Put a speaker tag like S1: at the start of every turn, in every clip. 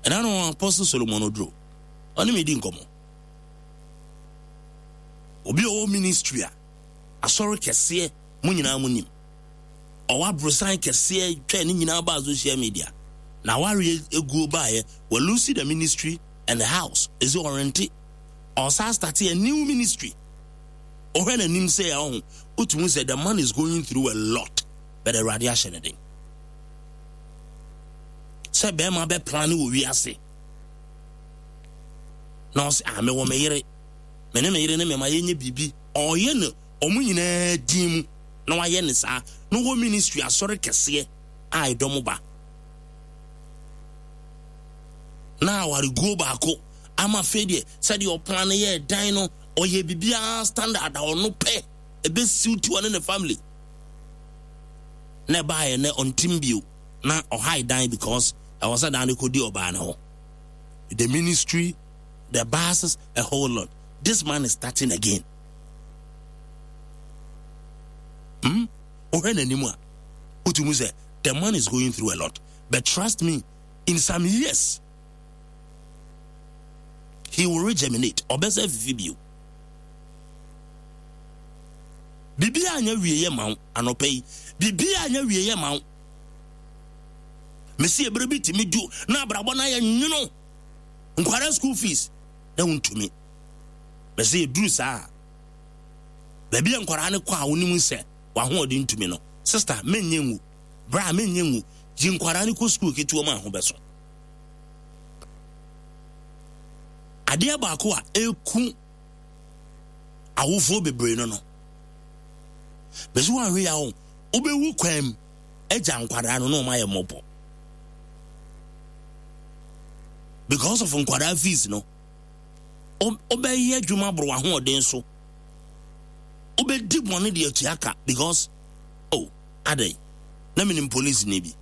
S1: Ɛna no Apostle Solomon Oduro, ɔne me di nkɔmmɔ. Obi a ɔwɔ ministry a, asɔre kɛseɛ, mo nyinaa mo nim. Ɔwɔ aborosan kɛseɛ twɛ ne nyinaa baa social media. Na awareɛ eguo baeɛ, walusi the ministry and the house. Ɛsi ɔrente. Ɔsan start a new ministry. Ɔhwɛ n'anim sɛ ɔho, wotumi sɛ the man is going through a lot, but Awurade ahyɛ ne den. Sɛ bɛrima bɛ plan wɔ wiase na ɔsɛ ah mewɔ me yere, me ne me yere ne me ma yɛnyɛ biribi, ɔyɛ no ɔmo nyinaa din mu na wayɛ ne saa na ɔwɔ ministry asɔre kɛseɛ a ɛdɔm ba na awareguo baako ama afei deɛ sɛdeɛ ɔplan no yɛ dan no ɔyɛ biribiara standard a ɔno pɛ ɛbɛsiw ti ɔne ne family na ɛbaeɛ nɛ ɔntim bio na ɔhae dan because ɛwɔ sɛ dan no kɔdi ɔbaa no hɔ. The ministry, the buses, a whole lot. This man is starting again. Hmm? Wohwɛ n'anim a, wotumi sɛ the man is going through a lot. But trust me, in some years, he will regerminate. Ɔbɛsɛ fifi bio. Biribiara anyɛ wieɛ ma wo anɔpa yi. Biribiara anyɛ wieɛ ma wo. Mesi ebere bi tumi du na abrabɔ no ayɛ nwono. Nkwara school fees na wontumi. Mesi eduru saa. Baabi a nkwara no kɔ a wonim sɛ wahoɔden ntumi no. Sister, menyɛ ngu. Bra, menyɛ ngu. Gye nkwara no kɔ school ketewa mu a ho bɛso. Adeɛ baako a eku awofoɔ bebree no no bɛsi wɔn ahwɛ ya ho wobɛwu kwan mu agya nkwadaa no na wɔn ayɛ mmɔbɔ because of nkwadaa fees no wobɛyɛ adwuma boro w'ahoɔden so wobɛdi bɔne de atua ka because oh adɛn na menim police ni bi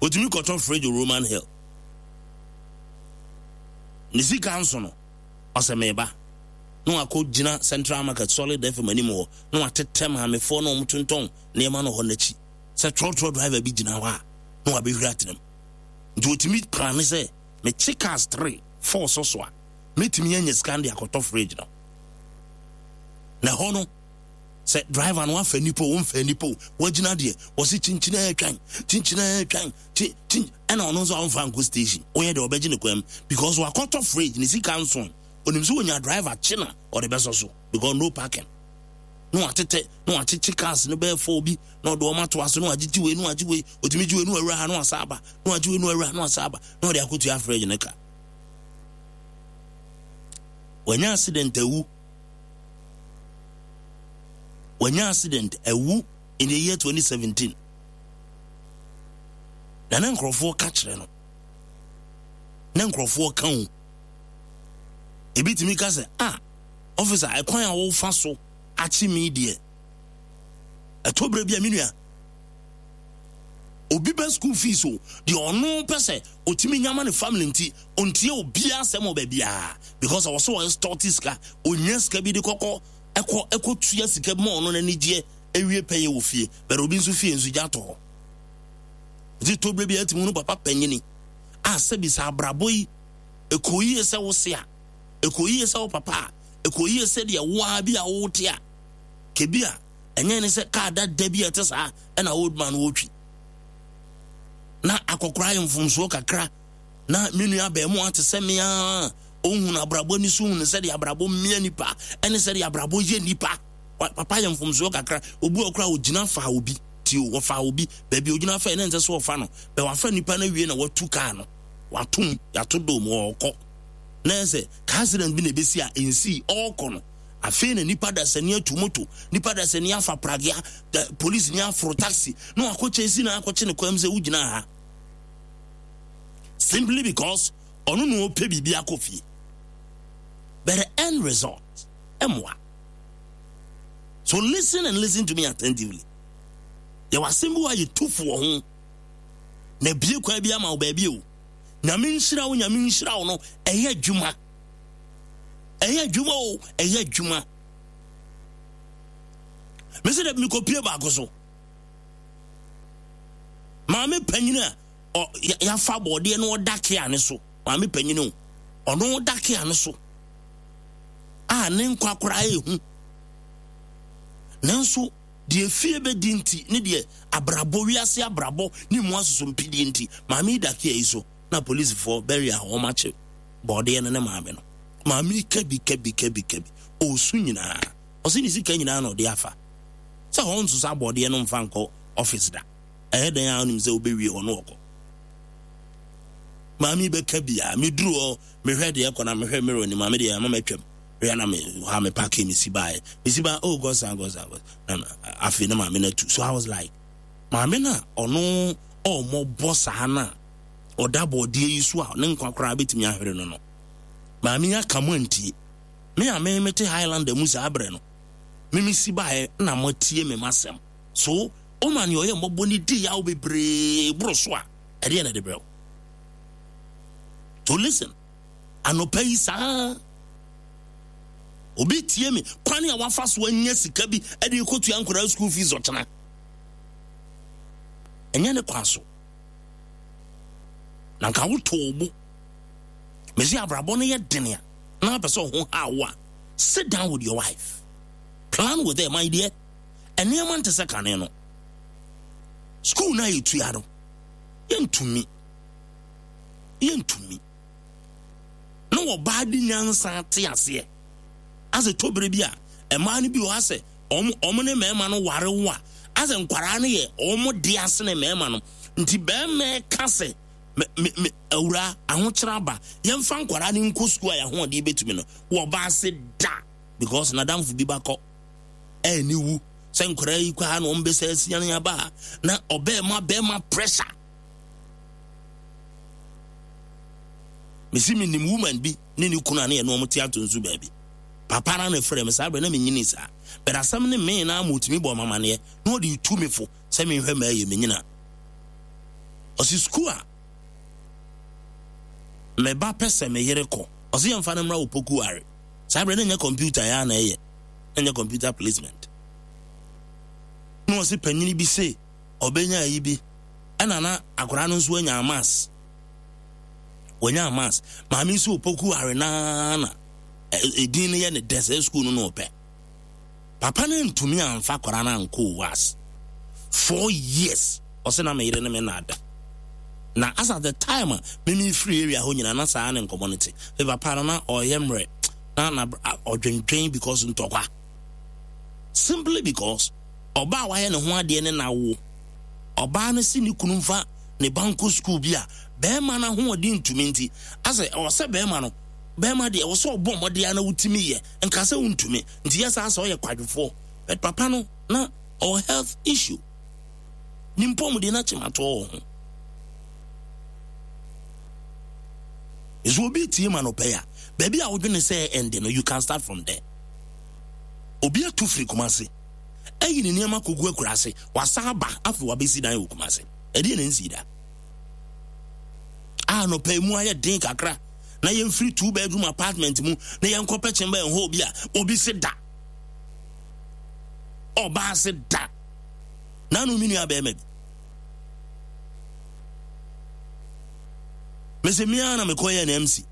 S1: otumi kɔtɔ fridge Roman Hill ne sika nso no Ɔsɛ meba. Na wakɔ gyina Central Market Solid FM anim hɔ na watetɛ maamefoɔ na wɔtontɔn nneɛma no hɔ n'akyi sɛ trɔtrɔ driver bi gyina hɔ a na wabɛhwiri atena mu. Nti wɔtumi plane sɛ mekye cars 3, 4 sɔ so a mɛtumi anya sika no de akɔtɔ fridge no. Na ɛhɔ no sɛ driver no wafa nipa o womfa nipa o wagyina deɛ wɔse kyinkyina atwan kyinkyina atwan kyi kyi ɛna ɔno nso ɔmfa nkɔ station woyɛ deɛ ɔbɛgye ne kwan mu because wakɔtɔ fridge ne sika nso onim sɛ onya driver kye na ɔde bɛsɔ so because no parking na watetɛ na wakyekye cars no bɛyɛ fɔɔ bi na ɔde wɔn ato ase na wagyegye wei na wagye wei otumi gye wei na wawura ha na wasa aba na wagye wei na wawura ha na wasa aba na ɔde akɔtua fridge ne ka wanya accident awu wanya accident awu in the year 2017 Na na nkurɔfoɔ ka kyerɛ no. Na nkurɔfoɔ ka o. Ebi tumi ka sɛ, ah, ɔfisa, ɛkwan a wofa so akye me deɛ, ɛtɔ berɛ bi a me nua, obi bɛ school fees o, deɛ ɔno pɛ sɛ ɔtumi nya ma ne family nti, ɔntie obiara asɛm wɔ baabiara because ɔwɔ sɛ ɔyɛ stɔte sika, ɔnya sika bi de kɔkɔ ɛkɔ ɛkɔ tua sika bi ma ɔno n'anigyeɛ ewie pɛyɛ wɔ fie, but obi nso fie nso gya atɔ hɔ. Nti tɔ berɛ bi a ɛtumi hunu papa panyini a sɛbi sɛ abrabɔ yi ɛkɔ yie sɛ wo se a, ɛkɔ yie sɛ wo papa a, ɛkɔ yie sɛ deɛ wo ara bi a wote a, kebi a ɛnyɛ ne sɛ kaa dada bi a ɛte saa ɛna old man wɔtwi. Na akɔkora ayɛ mfomsoɔ kakra na me nua abɛɛmoa te sɛ me a ɔhunu abrabɔ ani so hunu sɛdeɛ abrabɔ mmea nipa ɛne sɛdeɛ abrabɔ yɛ nipa. Papa yɛ mfomsoɔ kakra. Obi wɔ koraa ogyina faa obi. Ti o, wɔfaa obi. Baabi ogyina fa yɛ na ɛnsɛ sɛ ɔfa no. Bɛ wafa nipa no awie na watu kaa no. Watom, yɛato dom, ɔɔkɔ. Na ɛsɛ car accident bi na ebesi a ensii, ɔɔkɔ no. Afei na nipa dasani atu moto, nipa dasani afa pragea, polisi ni aforo taxi, na wakɔ chase na akɔkye ne kwan mu sɛ wogyina ha. Simply because ɔno na ɔpɛ biribi akɔ fie. But the end result, ɛmmoa. So listen and listen to me attentively. Yɛwɔ asɛm bi wɔ a yɛtu fo wɔ ho na ebie kwan bi ama wo baabi o. Nyame nhyira wo, Nyame nhyira wo no, ɛyɛ adwuma. Ɛyɛ adwuma o, ɛyɛ adwuma. Mese dɛ mekɔpie baako so. Maame panyin a ɔ yafa bɔɔdeɛ no ɔda kea ne so maame panyin o ɔno da kea no so a ne nkwa koraa ehu nanso deɛ fie bɛdi nti ne deɛ abrabɔ wiase abrabɔ ne mu asosompidie nti maame yi da kea yi so na polisifoɔ bɛwe a wɔn akye bɔɔdeɛ no ne maame no maame yi kabi kabi kabi kabi ɔresu nyinaa ɔsi ne sika nyinaa na ɔde afa sɛ wɔn nso sa bɔɔdeɛ no mfa nkɔ ɔfis da ɛyɛ dɛn a ɔnim sɛ wobɛwie hɔ no ɔkɔ maame bɛka bia meduru hɔ mehwɛ deɛ ɛkɔ na mehwɛ mirror ni maame deɛ ama matwam hwɛ na me ha me paake mesi baeɛ mesi ba oh God san God san God na afei na maame no atu so I was like maame no a ɔno ɔmmɔbɔ saa no a ɔda bɔɔdeɛ yi so a ne nkwa koraa bɛtumi ahwere no no maame yi aka mu antie me a me mete Highlander mu saa berɛ no me mesi baeɛ na moatie me masɛm so woma nea ɔyɛ mmɔbɔ no di yaw bebree boro so a ɛdeɛ na ɛde brɛ wo to listen anɔpa yi saa obi tie me kwan a wafa so anya sika bi de kɔtua nkwadaa school fees ɔkyena ɛnyɛ ne kwan so na nka wotoo bo mesi abrabɔ no yɛ dene a na apɛ sɛ ɔho ha wo a sit down with your wife plan with her my dear nneɛma nte sɛ kane no school no a yɛtua no yɛntumi yɛntumi na wɔbaa de nyansa te aseɛ asɛ tɔbere bi a mmaa no bi wɔ asɛ wɔn wɔn ne mmarima no ware wo a asɛ nkwaraa no yɛ wɔn de asene mmarima no nti barima ka sɛ me me me awura ahokyerɛ aba yɛmfa nkwaraa no nkɔ sukuu a yɛahoɔden bɛtumi no wɔbaa se da because n'adamfo bi bakɔ ɛni wu sɛ nkwaraa yi kɔ ha na wɔn bɛsɛ asia aba ha na ɔbɛɛma bɛɛma pressure mesi menim woman bi ne ne kunu a ne yɛne wɔn te ato nso baabi papa na ne frɛ me saa berɛ na menyini saa but asɛm ne me na ama ɔtumi bɔ mamaneɛ na ɔde tu me fo sɛ menhwɛ ma ɛyɛ menyina ɔsi sukuu a me ba pɛ sɛ me yere kɔ ɔsi yɛmfa no mmra wɔ poku are saa berɛ na nyɛ kɔmputa yɛ a na ɛyɛ na nyɛ kɔmputa placement na ɔsi panyini bi se ɔbɛnya ayi bi ɛna na akwadaa no nso anya amas wɔnya amas maame nso opoku are naa na edin no yɛ ne dɛ sɛ sukuu no na ɔpɛ papa no ntumi amfa akwadaa no ankɔ was 4 years ɔsɛ na meyere ne me na ada na as at the time a mimi firi area hɔ nyinaa na saa ne nkɔmɔ no te me papa no na ɔyɛ mmerɛ na na ɔdwendwen because ntɔkwa simply because ɔbaa wayɛ ne ho adeɛ ne n'awo ɔbaa no si ne kunu mfa ne ba nkɔ sukuu bi a bɛrima no ahoɔden ntumi nti asɛ ɛwɔ sɛ bɛrima no bɛrima deɛ ɛwɔ sɛ ɔbɔ mmɔden a na wotumi yɛ nka sɛ wontumi nti yɛ saa sɛ ɔyɛ kwadwofoɔ but papa no na ɔwɔ health issue ne mpɔmuden no akyematoɔ wɔ ho nso obi tie ma no pɛ a baabi a wodwene sɛ ɛnde no you can start from there obi atu firi Kumase ɛyi ne nneɛma kogu akuraase wasa aba afei wabɛsi dan wɔ Kumase ɛdeɛ na nsi da a nɔpɛ mu ayɛ den kakra na yɛmfiri two bedroom apartment mu na yɛnkɔpɛ chamber and hall bi a obi se da ɔbaa se da nanu mi nua bɛrima bi mese mmea na mekɔyɛ no MC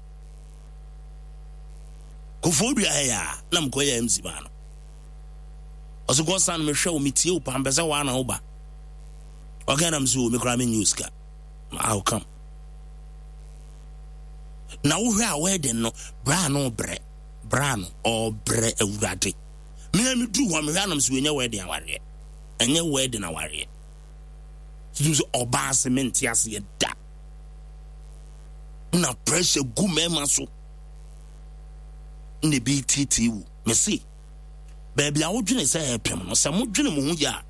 S1: kofoɔ dua ha yɛ a na mekɔyɛ MC maa no ɔsɛ kɔ san mehwɛ wo metie wo paa mpɛ sɛ woa na woba ɔka nam sɛ o me koraa menyɛ wo sika I'll come na wohwɛ a wedding no bra no brɛ bra no ɔbrɛ awurade mea meduru hɔ mehwɛ anam sɛ wɔnyɛ wedding awareɛ ɛnyɛ wedding awareɛ tutum sɛ ɔbaa se mente aseɛ da na pressure gu mmarima so na ebi tietie wo mese baabi a wodwene sɛ ɛpem no sɛ modwene mo ho yie a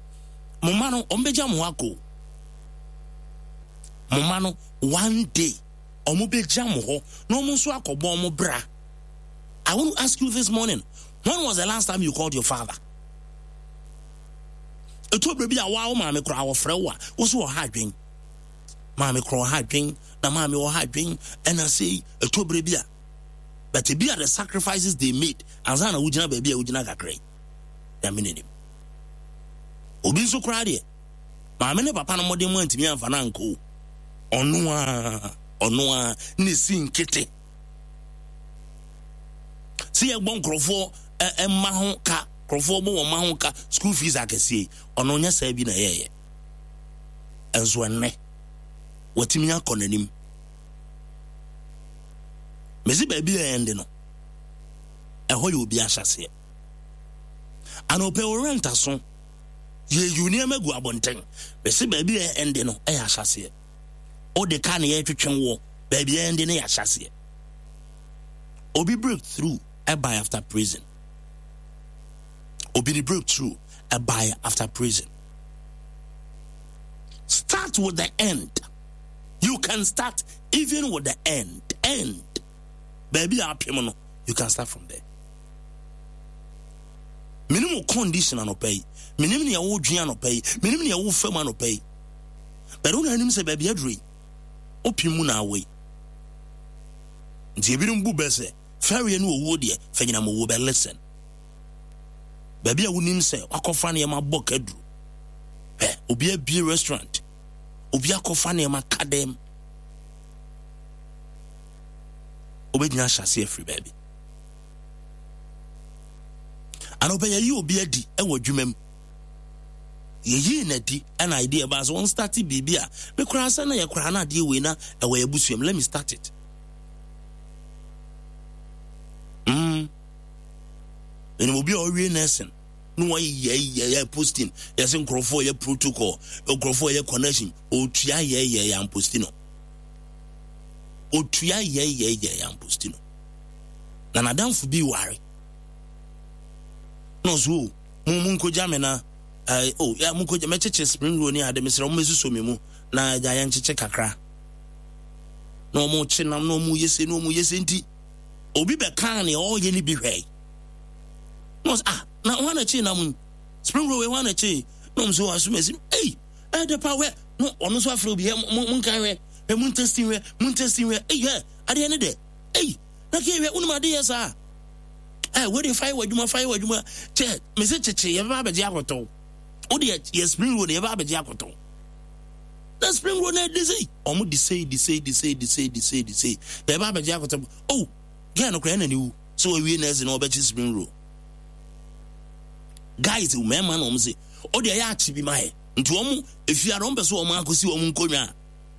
S1: mo mma no ɔmbɛgya mo hɔ akɔ mo mma no one day ɔmo bɛgya mo hɔ na ɔmo nso akɔbɔ ɔmo bra I want to ask you this morning when was the last time you called your father ɛtɔ berɛ bi a woa wo maame koraa wɔfrɛ wo a wo so ɔha adwen maame koraa ɔha adwen na maame ɔha adwen ɛna sei ɛtɔ berɛ bi a but ebi a the sacrifices they made ansa na wogyina baabi a wogyina kakra yi nyame n'anim obi nso koraa deɛ maame ne papa no mmɔden mu antumi amfa no ankɔ o. Ɔno ara, ɔno ara na esi nkete. Sɛ yɛbɔ nkurɔfoɔ mma ho ka, nkurɔfoɔ bɔ wɔn mma ho ka, school fees akɛseɛ yi, ɔno nyɛ saa bi na ɛyɛɛyɛ. Nso ɛnnɛ, watumi akɔ n'anim. Mesi baabi a ɛnde no, ɛhɔ yɛ obi ahyɛseɛ. Anɔpɛ wo rent aso, yɛyi nneɛma gu abɔnten. Mesi baabi a ɛnde no ɛyɛ ahyɛseɛ. Wode ka na yɛtwetwe woɔ, baabi a ɛnde no yɛ ahyɛseɛ. Obi breakthrough ɛbae after prison. Obi ne breakthrough ɛbae after prison. Start with the end. You can start even with the end. End. Baabi a apem no, you can start from there. Menim wo condition anɔpa yi. Menim nea wodwen anɔpa yi. Menim nea wofa mu anɔpa yi. But wo na anim sɛ baabi aduru yi, wopem mu na awɔ yi. Nti ebinom bu bɛ sɛ fɛreɛ ne owuo deɛ, fa nyinam owuo bɛ listen. Baabi a wonim sɛ wakɔfa nneɛma bɔ kaduru. Hwɛ, obi abie restaurant. Obi akɔfa nneɛma ka dɛm. Wobɛgyina ahyɛ ase afiri baabi. Anɔpɛ yɛyi obi adi wɔ adwuma mu. Yɛyii no adi ɛna idea baa sɛ wɔn start biribi a me koraa sɛ na yɛ koraa na adeɛ wei na ɛwɔ yɛ abusua mu. Let me start it. Mm. Ɛnum obi a ɔwie nursing na wɔyɛ yɛ yɛ posting yɛsɛ nkurɔfoɔ yɛ protocol nkurɔfoɔ yɛ connection otua yɛ yɛ yɛ amposti no otua yɛ yɛ yɛ yɛ amposti no na n'adamfo bi ware na ɔso o mo mo nkogya me na ɛɛ o ya mo nkogya mɛkyekyɛ spring roll ne ade mesrɛ mo mɛsuso me mu na agya yɛn nkyekye kakra na wɔn kye nam na wɔn yɛ se na wɔn yɛ se nti obi bɛkaa nea ɔreyɛ no bi hwɛe na ɔsɛ ah na wɔn na kye nam yi spring roll wɔn na kye na wɔn nso asoma esi ei ɛdɛ pa wɛ na ɔno nso afrɛ obi hɛ mo mo nkan hwɛ hwɛ mo ntɛsti hwɛ mo ntɛsti hwɛ ei hɛ adeɛ ne dɛ ei na kee hwɛ wonim ade yɛ saa ɛ wei de fa yɛ w'adwuma fa yɛ w'adwuma kyɛ mese kyekye yɛbɛba abɛgye akɔtɔw wo deɛ yɛ spring roll yɛbɛba abɛgye akɔtɔw na spring roll na ɛde sei ɔmo de sei de sei de sei de sei de sei de sei yɛbɛba abɛgye akɔtɔw oh gɛɛ no koraa ɛna ne wu sɛ wawie nɛɛse na ɔbɛkye spring roll guys mmarima na ɔmo se o deɛ yɛ akye bi ma yɛ nti ɔmo efiara ɔmo pɛ sɛ ɔmo akɔsi ɔmo nkonnwa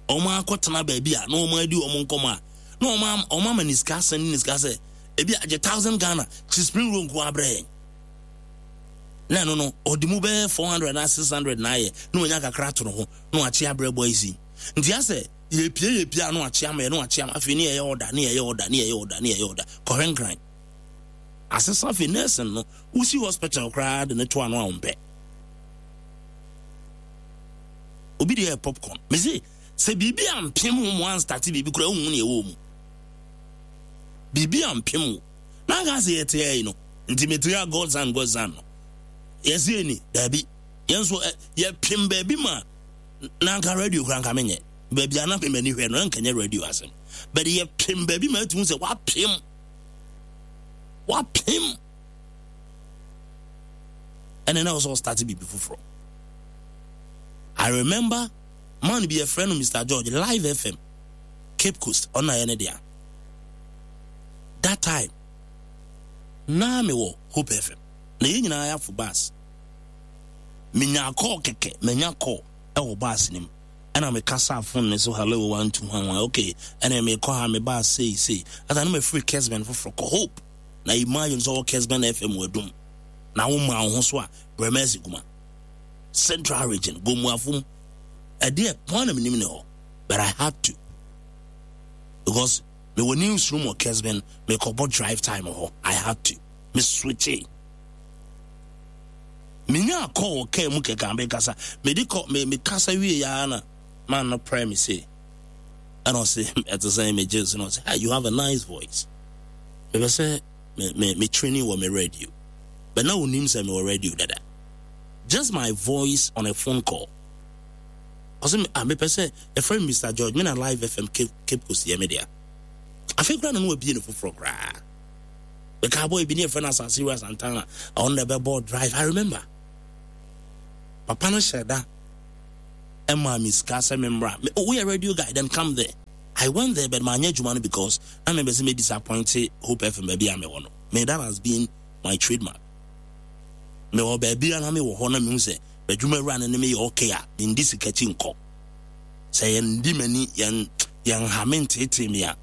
S1: a wɔn akɔtena baabi a na wɔn adi wɔn nkɔmɔ a na wɔn wɔn ama ne sika asɛn ne sika sɛ ebi agye thousand Ghana kyi spring roll nko abrɛ yɛn na ɛno no ɔde mu bɛyɛ 400 na 600 na ayɛ na wɔnya kakra ato ne ho na wakye abrɛ boys yi nti asɛ yɛpie yɛpie a na wakye ama yɛ na wakye ama afei ne yɛyɛ ɔda ne yɛyɛ ɔda ne yɛyɛ ɔda ne yɛyɛ ɔda kɔhwɛ nkran asesa afei nursing no wosi hospital koraa de ne to ano a wɔmpɛ Obi deɛ yɛ popcorn. Mese sɛ biribi ampem wo mo anstarte biribi koraa wohu nea ɛwɔ mu. Biribi ampem wo. Na anka sɛ yɛte ha yi no, nti mete ha God's son God's son no. Yɛse ni, daabi. Yɛn nso yɛpem baabi ma na anka radio koraa anka menyɛ. Baabi a na me m'ani hwɛ no, anka nyɛ radio asɛm. But yɛpem baabi ma atumi sɛ wapem. Wapem. Ɛna na ɔsɛ ɔstarte biribi foforɔ. I remember man bi yɛfrɛ no Mr George Live FM Cape Coast ɔno na yɛ ne dea that time na mewɔ Hope FM na yɛn nyinaa yɛafo bus menya call kɛkɛ manya call ɛwɔ bus no mu ɛna mekasa phone ne so hello 1 2 1 1 okay ɛna mekɔ ha me bus sei sei ata na mafiri Kesben foforɔ kɔ Hope na imagine sɛ ɔwɔ Kesben FM wɔ Adum na wo ma wo ho so a Brɛmɛsi kuma Central Region, Gomuafo mu. Ɛdeɛ pɔn na menim ne hɔ, but I had to because mewɔ newsroom wɔ Kesben, mekɔbɔ drive time hɔ. I had to. Me switche. Menya call wɔ kaa mu kɛkɛ mekasa. Mede kɔ me mekasa wie ya na man no prɛ me se. Ɛna ɔse ɛte sɛ megye so na ɔse, hey, you have a nice voice. Mepɛ sɛ me me me training wɔ me radio. But na onim sɛ mewɔ radio dada. Just my voice on a phone call. Ɔsɛ me ah mepɛ sɛ yɛfrɛ me Mr George me na Live FM Cape, Cape Coast yɛ me dea. Afei koraa na no wabie no foforɔ koraa. Meka boy bi ne yɛfrɛ no Asase Wura Santana ɔno na ɛbɛbɔ drive. I remember. Papa no hyɛ da. Ɛmaa me sika sɛ memmra. Me, oh, woyɛ radio guy, then come there. I went there, but manyɛ adwuma no because na mepɛ sɛ me disappoint Hope FM baabi a mewɔ no. Me, that has been my trademark. Mewɔ baabi a na mewɔ hɔ na mehu sɛ m'adwuma wura no ne me yɛ okay a, mendi sika akyi nkɔ. Sɛ yɛndi m'ani, yɛn yɛnha me nteetee me a,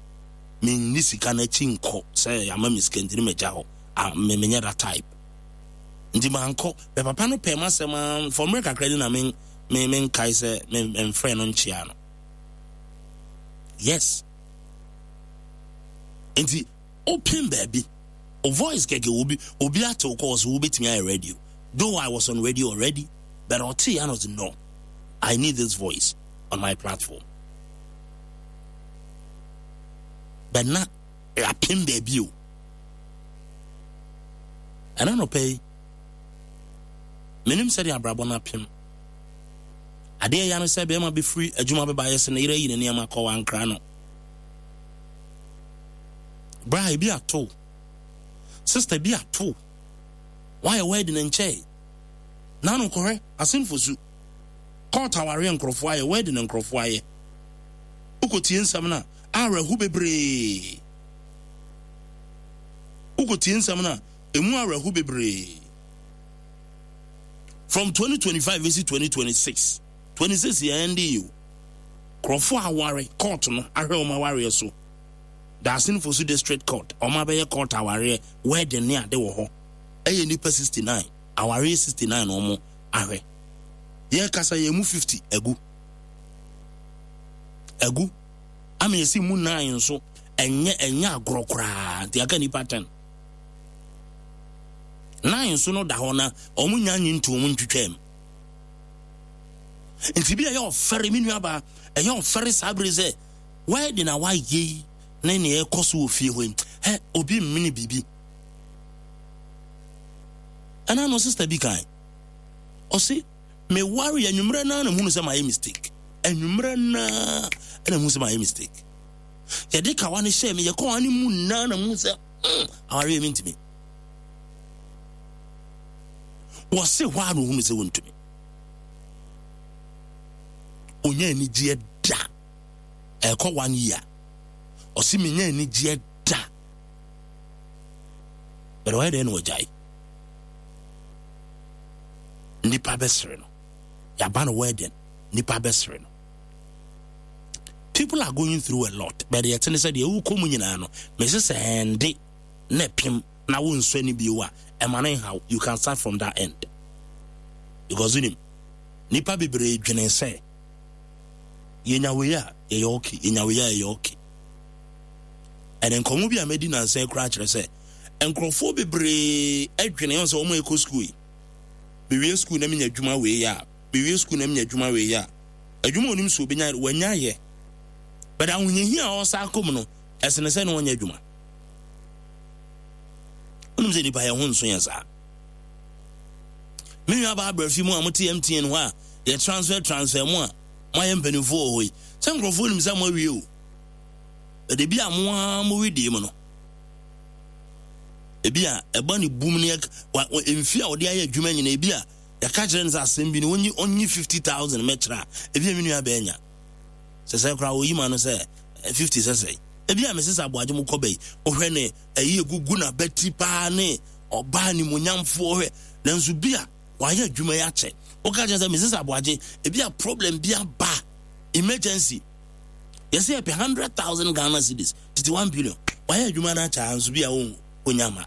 S1: menni sika no akyi nkɔ sɛ yɛama me sika nti ne magya hɔ. Ah, me menyɛ that type. Nti mankɔ. Bɛ papa no pɛɛ m'asɛm ara, for mmerɛ kakra ni na me me menkae sɛ me memfrɛ no nkyea no. Yes. Nti open baabi. O voice kɛkɛ obi obi ate wo kɔ so wobɛtumi ayɛ radio. Though I was on radio already, but ɔte ya no no. I need this voice on my platform. But na apem baabi o. Ɛna nɔpɛ yi, menim sɛdeɛ abrabɔ no apem. Adeɛ ya no sɛ bɛrima bɛfiri adwuma bɛba ayɛ sɛ ne yere ayi ne nneɛma kɔ wankra no. Bra ebi ato. Sister bi ato. Wayɛ wedding nkyɛe. Nano kɔhwɛ asenfo su. Court awareɛ nkurɔfoɔ ayɛ wedding nkurɔfoɔ ayɛ. Wokɔtie nsɛm no a awerɛho bebree. Wokɔtie nsɛm no a emu awerɛho bebree. From 2025 bɛsi 2026. 26 yɛ ɛnde yi o. Nkurɔfoɔ aware court no ahwɛ wɔn awareɛ so. Dasin Fosu District Court wɔn abɛyɛ court awareɛ wedding ne ade wɔ hɔ. Ɛyɛ nnipa 69 awareɛ 69 na wɔn ahwɛ. Yɛkasa yɛn mu 50 agu. Agu. Ama yɛsi mu 9 nso ɛnyɛ ɛnyɛ agorɔ koraa nti aka nnipa 10. 9 nso no da hɔ na wɔn nya nye ntu wɔn ntwitwam. Nti bi a ɛyɛ ɔfɛre me nuabaa ɛyɛ ɔfɛre saa bere sɛ wedding a wayɛ yi ne nea ɛkɔ so wɔ fie hɔ yi hɛ obi mmene biribi. Ɛna no sister bi kan ɔse meware anwummerɛ naa na muhunu sɛ mayɛ mistake. Anwummerɛ naa na muhunu sɛ mayɛ mistake. Yɛde kawa no hyɛɛ me yɛkɔɔ ne mu naa na muhunu sɛ awareɛ mentumi. Wɔse hɔ a na ohunu sɛ wontumi. Onya anigyeɛ da. Ɛkɔ one year. Ɔse menya anigyeɛ da. Bɛrɛ ɔyɛ dɛn na ɔgyae? Nipa bɛsere no. Yaba no wedding. Nipa bɛsere no. People are going through a lot. But deɛ ɛte ne sɛ deɛ wokɔ mu nyinaa no, mese sɛ ɛnde na ɛpem na wonsɔ ani bio a, ɛma no nhaw. You can start from that end. Because wonim, nipa bebree dwene sɛ yɛnya wei a yɛyɛ okay, yɛnya wei a yɛyɛ okay. Ɛne nkɔmmɔ bi a madi nansa koraa kyerɛ sɛ nkurɔfoɔ bebree adwene wɔn sɛ wɔn ɛkɔ sukuu yi. Mewie sukuu na menya adwuma wei a, mewie sukuu na menya adwuma wei a, adwuma onim so obenya wanya yɛ. But ahohiahia a ɔsa akɔ mu no, ɛsene sɛ ne ɔnyɛ adwuma. Wonim sɛ nipa yɛn ho nso yɛn saa. Me nua baa abrɛfi mu a mote MTN hɔ a yɛ transfer transfer mu a moayɛ mpanimfoɔ wɔ hɔ yi. Sɛ nkurɔfoɔ nim sɛ moawie o. Ɛde bi a mo ara mo wedeɛ mu no. Ebi a ɛba ne bum ne mfi a ɔde ayɛ adwuma nyina ebi a yɛka kyerɛ no sɛ asɛm bi no onyi onyi 50,000 mɛkyerɛ a ebi a me nua bɛɛ nya. Sɛ sɛ koraa oyi ma no sɛ 50 sɛ sɛ. Ebi a mesesa aboagye mo kɔ bɛyi. Wohwɛ ne ɛyi egugu n'abati paa ne ɔbaa nimonyamfoɔ hwɛ nanso bi a wayɛ adwuma yi akyɛ woka kyerɛ sɛ Mrs. Aboagye ebi a problem bi aba emergency yɛsɛ yɛpɛ 100,000 Ghana cedis tete 1 billion wayɛ adwuma no akyɛ nso bi a wonya ma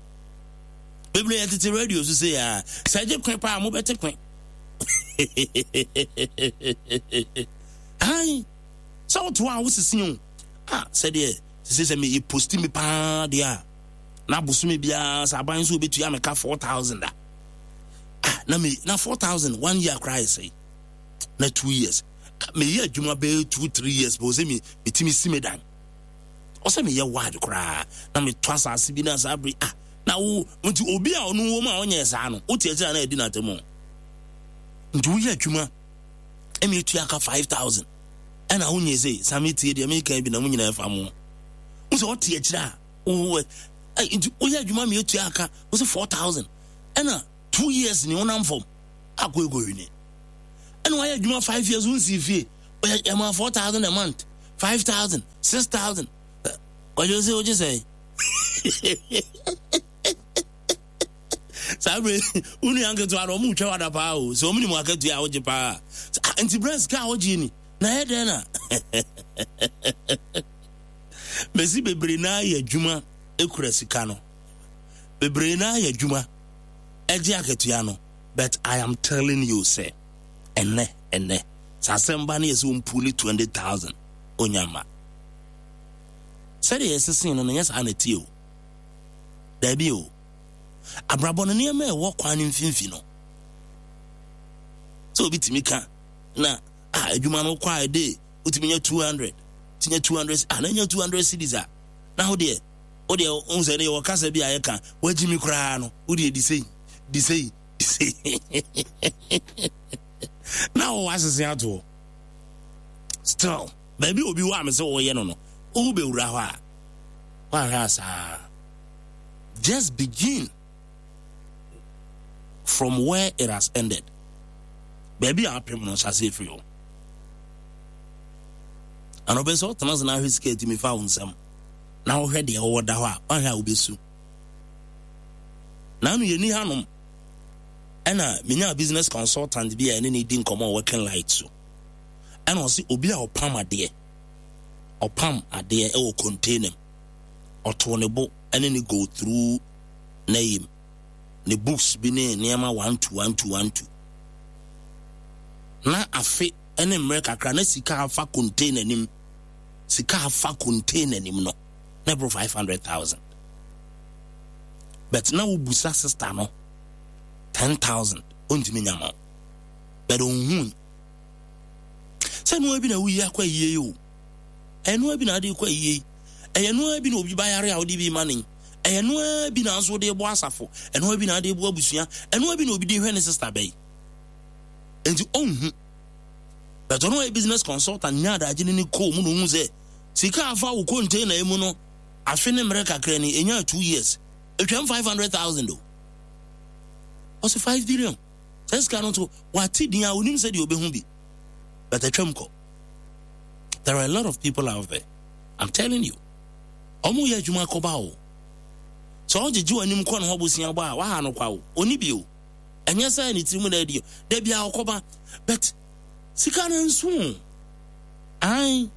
S1: bebree yɛ tete radio so sɛ a sɛ gye kwe paa mobɛte kwe ai sɛ woto a wosese o ah sɛdeɛ sɛ sɛ meyɛ posti me paa deɛ a na bosome biara sɛ aban nso obetua me ka 4000 a ah na me na 4000 one year koraa yɛ sɛe na 2 years meyɛ adwuma bɛyɛ 2 3 years bɛ sɛ me metumi si me dan ɔsɛ meyɛ ward koraa na metɔ asase bi na saa bere ah na wo nti obi a ɔno wɔ mu a ɔnyɛ saa no wote akyire a na adi n'atɛm nti woyɛ adwuma ɛna etua ka 5000 ɛna wonyɛ sɛ same tie deɛ meka bi na mo nyinaa ɛfa mo wo sɛ ɔte akyire a wo nti woyɛ adwuma ma etua aka wo sɛ 4000 ɛna 2 years ni wonam fam akɔ ekɔhwini. Ɛna wayɛ adwuma 5 years, wonsii fie. Ɔyɛ ɛma 4,000 a month, 5,000, 6,000. Ɔgye sɛ wogye sɛ saa bere wo nua nketewa no, ɔmo twa wada paa o, sɛ ɔmo nim akatua a wogye paa. Nti berɛ sika a wogye ni na ɛyɛ dɛn na mɛsi? Bebree naa yɛ adwuma ekura sika no, bebree naa yɛ adwuma ɛgye akatua no, but I am telling you sɛ ɛnɛ sɛ asɛm ba no yɛ sɛ ɔmpuli 20,000 onya ma sɛdeɛ yɛsesen no nyɛ saa na ɛtie o. Daabi o, abrabɔ no nneɛma a ɛwɔ kwan no mfimfini no sɛ obi tumi ka na a adwuma no kɔ a ɛde wotumi nya 200, tumi nya 200 a na nya 200 cedis a na ho deɛ wo deɛ wohu sɛ ne yɛwɔ kasa bi a yɛka wagyi mi koraa no, wo deɛ di sei, di sei, di sei na wɔwɔ asese atoɔ. Still baabi obi wɔ a me sɛ wɔyɛ no, wobɛwura hɔ a woahwɛ a saa. Just begin from where it has ended. Baabi a apem no, hyɛ aseɛ firi hɔ. Anɔpɛ sɛ wotena ase na ahwɛ sika atumi fa wo nsɛm na wohwɛ deɛ wɔwɔ da hɔ a, woahwɛ a wobɛsu. Naano yɛni hanom ɛna menya business consultant bi a ɛne ne di nkɔmmɔ working light so, ɛna ɔse obi a ɔpam adeɛ, ɔpam adeɛ ɛwɔ container mu, ɔtoo ne bo ɛne ne go through n'ayim ne books bi ne nneɛma one two one two one two, na afe ne mmerɛ kakra na sika afa container nim, sika afa container nim no na ɛboro 500,000, but na wobusa sister no 10,000, ɔntumi nya ma wo. But ɔnhui sɛ noa bi na woyi akɔ ayie yi o, ɛnoa bi na ade kɔ ayie yi, ɛyɛ noa bi na obi bayare a wode bi ma ne, ɛyɛ noa bi na nso wode bɔ asafo, ɛnoa bi na ade bɔ abusua, ɛnoa bi na obi de hwɛ ne sister bɛyi, nti ɔnhu. But ɔno ɔyɛ business consultant nya adagye ne ne kɔɔ mu na ɔhu sɛ sika afa wo container yi mu no, afe ne mmerɛ kakra ni, ɛnya 2 years, ɛtwam 500,000 o. Ɔsɛ 5 billion sɛ sika no nso wate din a onim sɛ deɛ ɔbɛhu bi, but atwam kɔ. There are a lot of people out there, I'm telling you, ɔmo yɛ adwuma kɔba o. Sɛ ɔgyegye w'anim kɔ ne hɔ bosia bɔ a, waha no kwa o, ɔni bi o. Ɛnyɛ sɛ ne tirim na adi da bia ɔkɔba, but sika no nso o. Ai,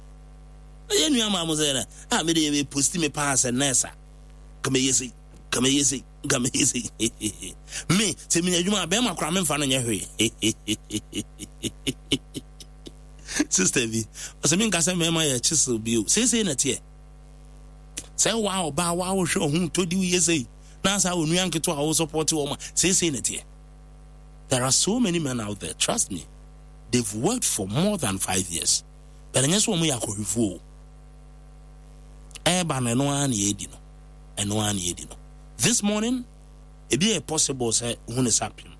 S1: ɛyɛ nua maa mo sɛ na a mede yɛ posti me paa sɛ nurse a kama yɛ sei, kama yɛ sei, kama yɛ sei. Me sɛ menya adwuma a, bɛrima koraa memfa no nyɛ hwee. Sister bi ɔsɛ menka sɛ mmarima yɛ chisel bio seesei na teɛ sɛ waa ɔbaa waa wohwɛ ɔho tɔdi woyɛ sei na asa onua nketewa a wo support wɔn a seesei na teɛ. There are so many men out there, trust me, they've worked for more than 5 years, but ɛnyɛ sɛ wɔn yɛ akɔhwifoɔ o. Ɛɛba no, ɛno ara na yɛdi no, ɛno ara na yɛdi no. This morning ebi yɛ possible sɛ hu ne sa pem,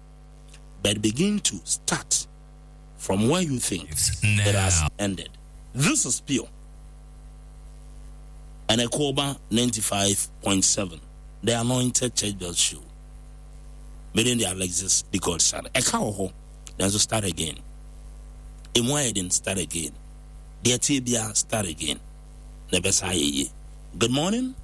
S1: but begin to start from where you think it has ended. This is Pure and Ekoba 95.7, the Anointed Church Bell Show. Meeting the Alexis, the Godson. Ɛka wɔ hɔ, nanso start again. Emu ayɛ den, start again. Deɛ tie bia, start again. Na ɛbɛsa ayɛ yie. Good morning.